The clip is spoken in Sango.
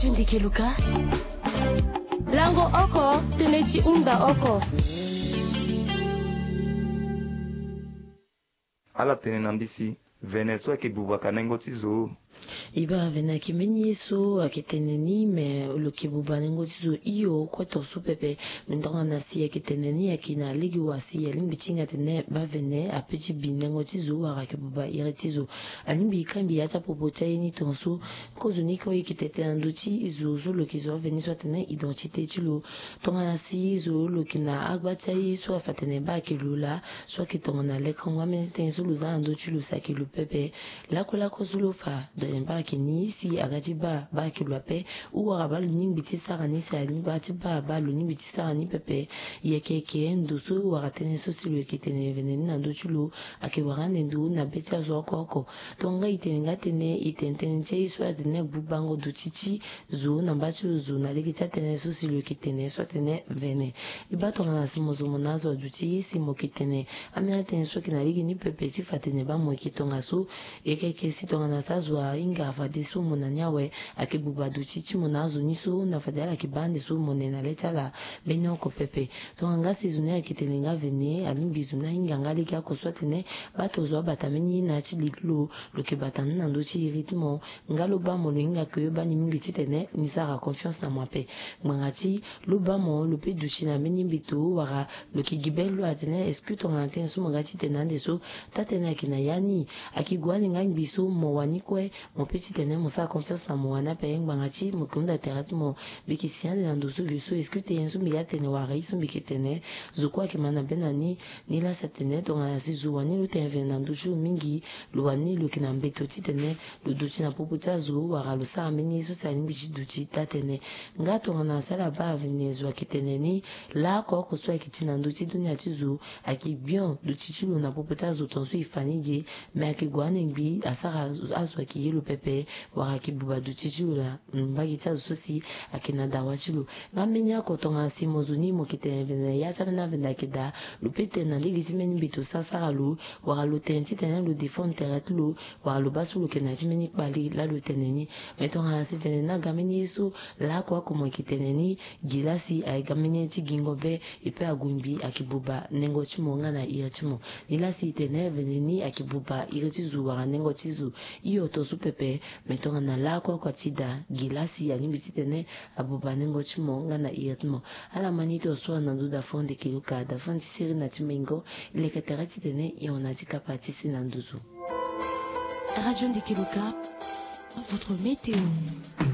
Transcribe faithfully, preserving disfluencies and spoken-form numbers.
Tindi keluka. Lango oko, tënë ti hunda oko. Ala tene na mbisi, vene so ayeke buba ka nengo ti zo. E baa vene ayeke mbeni ye so ayeke tene ni, me lo yeke buba nengo ti zo hio, kue tongaso pepe. Me tongana si ayeke tene ni ayeke na lege wa si alingbi ti hinga atene baa vene ape ti bi nengo ti zo wala ayeke buba iri ti zo. Alingbi e kangbi ya ti apopo ti aye ni tongaso. Kozoni kue e yeke tene tënë na ndö ti zo so lo yeke zo aveni so atene identité ti lo. Tongana si zo lo yeke na agba ti aye so afa atene baa ayeke lo laa, so ayeke tongana lekengo, ambeni tënë so lo za na ndö ti lo si ayeke lo pepe. Lakue lakue so lo fa, donc baa ayeke ni si aga ti baa, baa ayeke lo ape. Ou wala baa lo ningbi ti sara ni si aga ti baa, baa lo ningbi ti sara ni pepe. E yeke yeke ndo so wala tënë so si lo yeke tene vene ni na ndö ti lo, ayeke wara ande ndo na be ti azo oko oko. Tongana e tene nga tënë, e tene tënë ti aye so atene bubango duti ti zo na mba ti lo zo na lege ti atënë so si lo yeke tene so atene vene. E baa tongana si mo zo mo na azo aduti si mo yeke tene ambeni atënë so ayeke na lege ni pepe ti fa atene baa mo yeke tongaso. E yeke yeke si tongana si azo ahinga fadeso mo na ni awe, ayeke buba duti ti mo na azo ni so na fade ala yeke baa ande so mo ne na le ti ala. Mbeni oko pepe. Tongana nga si zo ni ayeke tene nga vene, alingbi zo ni ahinga nga lege oko so atene baa to zo abata mbeni ye na ya ti li ti lo, lo yeke bata ni na ndö ti iri ti mo. Nga lo baa mo lo hinga ke yo baa ni mingi titene ni sara confiance na mo ape. Ngbanga ti lo baa mo lo pe duti na mbeni mbeto wala lo yeke gi be lo atene est-ce que tongana tënë so mo ga ti tene ande so, taa tënë ayeke na ya ni? Ayeke gue ande nga ngbi so mo wani kue, mo pe titene mo sara confiance na mo wani ape. Ngbanga ti mo yeke hunda tere ti mo, mbi yeke si ande na ndo so ge so, est-ce que tënë so mbi ga tene wala ye so mbi yeke tene, zo kue ayeke ma na be na ni? Ni laa si atene tongana si zo wani lo tene vene na ndö ti lo mingi, lo wani lo yeke na mbeto titene lo duti na popo ti azo wala lo sara mbeni ye so si alingbi ti duti taa tënë. Nga tongana si ala baa vene zo ayeke tene ni, laoko oko so ayeke ti na ndö ti dunia ti zo ayeke gbion duti ti lo na popo ti azo tongaso e fa ni ge. Me ayeke gue ande ngbi asara azo ayeke ye lo pepe, wala ayeke buba duti ti lo na mbage ti azo so si ayeke na dawa ti lo. Nga mbeni oko tongana si mo zo ni mo yeke tene vene na ya ti ambeni avene ayeke daa, lo pe tene na lege ti mbeni mbeto so asara lo, wala lo tene titene lo défendre tere ti lo, wala lo baa so lo yeke na ya ti mbeni kpale laa lo tene ni. Me tongana si vene ni aga mbeni ye so, laoko oko mo yeke tene ni, gi laa si ayeke ga mbeni ye ti gingo be, e pe ague ngbi ayeke buba nengo ti mo nga na iri ti mo. Ni laa si e tene vene ni ayeke buba iri ti zo wala nengo ti zo. Hio tongaso pepe. Me tongana laoko oko ti daa, gi laa si alingbi titene abuba nengo ti mo nga na iri ti mo. Ala ma ni tongaso na ndo da fo ndeke luka da fo ti seri na ti mengo. E leke tere titene e hon na ti kapa ti se na nduzu. Radio Ndeke Luka, votre météo.